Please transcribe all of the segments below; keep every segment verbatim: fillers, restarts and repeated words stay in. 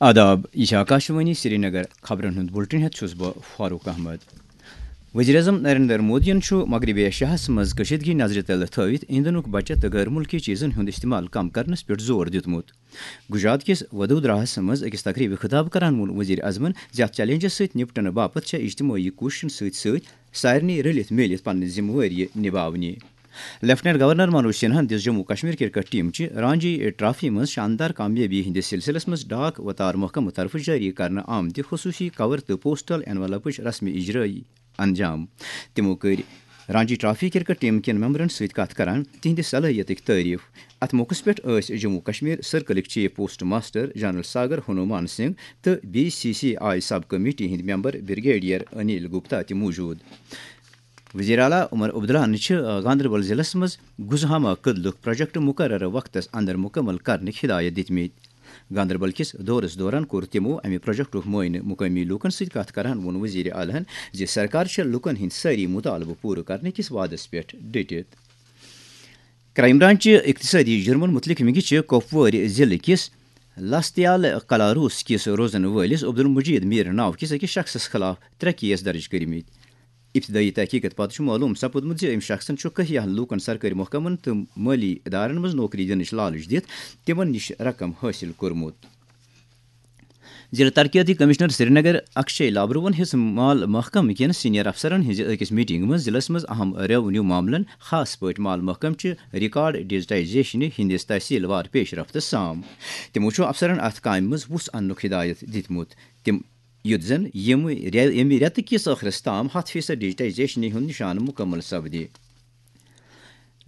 آداب، یہِ چھِ آکاشوانی سرینگر۔ خبرن ہُنٛد بُلٹن ہٮ۪تھ چھُس بہٕ فاروق احمد۔ وزیر اعظم نریندر مودیَن چھُ مغربی ایشیاہَس منٛز کشیدگی نظرِ تل تھٲوِتھ ایندھنُک بچت تہٕ غٲر مُلکی چیزن ہُنٛد استعمال کم کرنس پٮ۪ٹھ زور دیُتمُت۔ گجرات کِس ودودراہَس منٛز أکِس تقریبہِ خطاب کران ووٚن وزیر اعظمن زِ اتھ چیلنجس سۭتۍ نپٹنہٕ باپتھ چھےٚ اجتمٲعی کوٗششن سۭتۍ سۭتۍ سارنٕے رٔلِتھ میٖلِتھ پننہِ ذمہٕ وٲری نباونہِ۔ لیفٹیننٹ گورنر منوج سنہاہن دِژ جموں کشمیر کرکٹ ٹیم چہِ رانجی ٹرافی منٛز شاندار کامیٲبی ہٕنٛدِس سلسلس منٛز ڈاک وتار محکمہٕ طرفہٕ جٲری کرنہٕ آمتہِ خصوٗصی کور تہٕ پوسٹل انویلپٕچ رسمی اجرٲیی انجام۔ تِمو کٔرۍ رانجی ٹرافی کرکٹ ٹیم کٮ۪ن ممبرن سۭتۍ کتھ کران تِہنٛدِ صلٲحیتٕکۍ تعریف۔ اتھ موقعس پٮ۪ٹھ ٲسۍ جموں کشمیر سرکلٕکۍ chief post master general Sagar Hanuman Singh تہٕ B C C I sub committee ہٕنٛدۍ ممبر بریگیڈیئر انیل گپتا تہِ موجود۔ وزیر اعلیٰ عمر عبداللہن چھِ گاندربل ضلعس منٛز گزہامہ کدلُک پروجیکٹ مقررٕ وقتس اندر مکمل کرنٕکۍ ہدایت دِتمٕتۍ۔ گاندربل کِس دورس دوران کوٚر تِمو امہِ پروجیکٹُک معائنہٕ۔ مقٲمی لوٗکن سۭتۍ کتھ کران ووٚن وزیر اعلیٰ ہن زِ سرکار چھےٚ لوٗکن ہٕنٛدۍ سٲری مطالبہٕ پوٗرٕ کرنہٕ کِس وعدس پٮ۪ٹھ ڈٔٹِتھ۔ کرائم برانچ چہِ اقتصٲدی جُرمن مُتعلق ونگہِ چھِ کۄپوٲرۍ ضلعہٕ کِس لستیال کلاروس کِس روزن وٲلِس عبدالمجید میر ناو کِس أکِس شخصس خلاف ترٛےٚ کیس درج کٔرمٕتۍ۔ ابتدٲیی تحقیقس پتہٕ چھُ معلوم سپُدمُت زِ أمۍ شخصن چھُ کینٛہَن لوٗکن سرکٲرۍ محکمن تہٕ مٲلی ادارن منٛز نوکری دِنٕچ لالچ دِتھ تِمن نِش رقم حٲصِل کوٚرمُت۔ ضلع ترقیتی کمشنر سرینگر اکشے لابروَن ہیٚژ مال محکمہٕ کٮ۪ن سینئر افسرن ہٕنٛزِ أکِس میٹنگہِ منٛز ضلعس منٛز اہم ریونیو معاملن، خاص پٲٹھۍ مال محکمہٕ چہِ ریکارڈ ڈیجیٹائزیشنہِ ہٕنٛدِس تحصیل وار پیش رفتس سام۔ تِمو چھُ افسرن اتھ کامہِ منٛز وُژھ اننُک ہدایت دِتمُت۔ تِم یُتھ زن ییٚمہِ رے-، ییٚمہِ رٮ۪تہٕ کِس ٲخرس تام ہتھ فیصد ڈیجیٹائزیشنہِ ہُنٛد نشانہٕ مُکمل سپدِ۔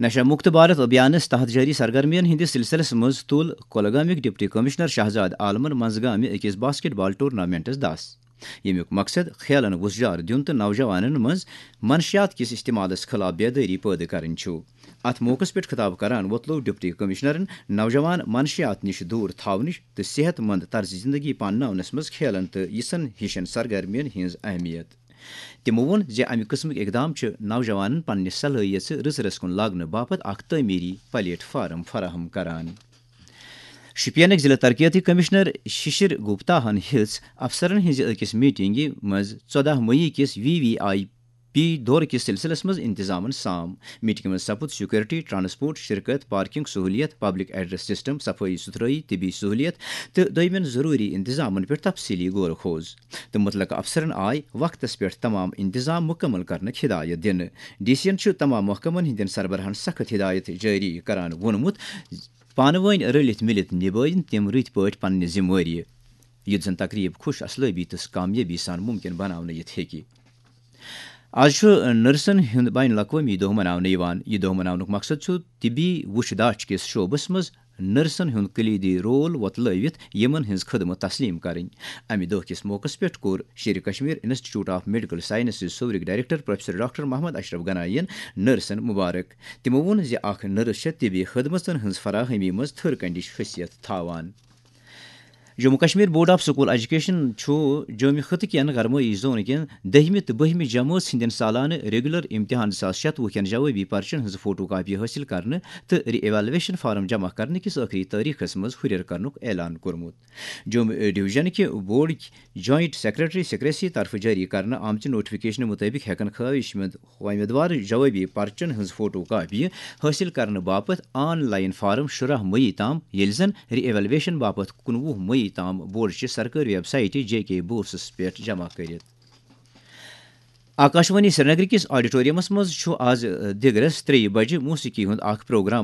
نشہ مکت بھارت ابھیانس تحت جٲری سرگرمین ہٕنٛدِس سلسلس منٛز تُل کۄلگامٕکۍ ڈپٹی کمشنر شہزاد عالمن منٛزگامہِ أکِس باسکٹ بال ٹورنامنٹس دس، ییٚمیُک مقصد کھیلن وُژھ جار دیُن تہٕ نوجوانن منٛز منشیات کِس استعمالس خلاف بیدٲری پٲدٕ کرٕنۍ چھُ۔ اتھ موقعس پٮ۪ٹھ خطاب کران وۄتلوو ڈپٹی کمشنرن نوجوان منشیات نِش دوٗر تھاونٕچ تہٕ صحت مند طرز زندگی پانناونس منٛز کھیلن تہٕ یِژھن ہِشن سرگرمین ہٕنٛز اہمیت۔ تِمو ووٚن زِ امہِ قٕسمٕکۍ اقدام چھِ نوجوانن پننہِ صلٲحیژٕ رٕژ رٕژ کُن لاگنہٕ باپتھ اکھ تعمیری پلیٹ فارم فراہم کران۔ شوپینٕکۍ ضلع ترقیتی کمشنر ششر گپتا ہن ہیٚژ افسرن ہٕنٛزِ أکِس میٹنگہِ منٛز ژۄدہ مئی کِس وی وی آئی پی دورٕ کِس سلسلس منٛز انتظامن سام۔ میٹنگہِ منٛز سپُد سیکورٹی، ٹرانسپورٹ، شرکت، پارکنگ سہولیت، پبلک ایڈریس سسٹم، صفائی ستھرٲئی، طبی سہولیت تہٕ دویمٮ۪ن ضروری انتظامن پٮ۪ٹھ تفصیلی غور و خوض۔ تہٕ متعلقہٕ افسرن آے وقتس پٮ۪ٹھ تمام انتظام مکمل کرنٕکۍ ہدایت دِنہٕ۔ ڈی سی ین چھُ تمام محکمن ہٕنٛدٮ۪ن سربراہن سخت ہدایت جٲری کران ووٚنمُت، پانہٕ وٲنۍ رٔلِتھ مِلِتھ نبٲوِن تِم رٕتۍ پٲٹھۍ پننہِ ذمہٕ وٲری، یُتھ زن تقریب خوش اصلٲبی تہٕ کامیٲبی سان ممکن بناونہٕ یِتھ ہیٚکہِ۔ آز چھُ نرسن ہُنٛد بین الاقوٲمی دۄہ مناونہٕ یِوان۔ یہِ دۄہ مناونُک مقصد چھُ طبی وُچھ داچھ کِس شعبس منٛز نرسن ہُنٛد کلیدی رول وۄتلٲوِتھ یِمن ہٕنٛز خدمت تسلیم کرٕنۍ۔ امہِ دۄہ کِس موقعس پٮ۪ٹھ کوٚر Sher i Kashmir institute of medical sciences صوورٕکۍ director professor doctor Mohammad Ashraf Ganai ین نرسن مبارک۔ تِمو ووٚن زِ اکھ نرس چھےٚ طبی خدمژن ہٕنٛز فراہمی منٛز تھٔر کنڈِچ حیثیت تھاوان۔ Jammu Kashmir board of school education چھُ جومہِ خطہٕ کٮ۪ن گرمٲیی زون کٮ۪ن دٔہمہِ تہٕ بٔہمہِ جمٲژ ہٕنٛدٮ۪ن سالانہٕ ریگولر امتحان زٕ ساس شتوُہ کٮ۪ن جوابی پرچن ہٕنٛز فوٹو کاپی حٲصِل کرنہٕ تہٕ ری ایویلویشن فارم جمع کرنہٕ کِس ٲخری تٲریخس منٛز ہُرٮ۪ر کرنُک اعلان کوٚرمُت۔ جومہِ ڈویژن کہِ بورڈٕکۍ جوائنٹ سیکرٹری سکریسی طرفہٕ جٲری کرنہٕ آمژِ نوٹیفکیشنہٕ مُطٲبِق ہٮ۪کن خٲہِش مند امیدوار جوابی پرچن ہٕنٛز فوٹو کاپی حٲصِل کرنہٕ باپتھ آن لائن فارم شُراہ مئی تام، ییٚلہِ زن ری ایویلویشن باپتھ کُنوُہ مئی تام بورڈ چہِ سرکٲرۍ ویب سائٹہِ جے کے بورسس پٮ۪ٹھ جمع کٔرِتھ۔ آکاشوانی سرینگر کِس آڈیٹوریمس منٛز چھُ آز دِگرس ترٛیٚیہِ بجہِ موسیقی ہُنٛد اکھ پروگرام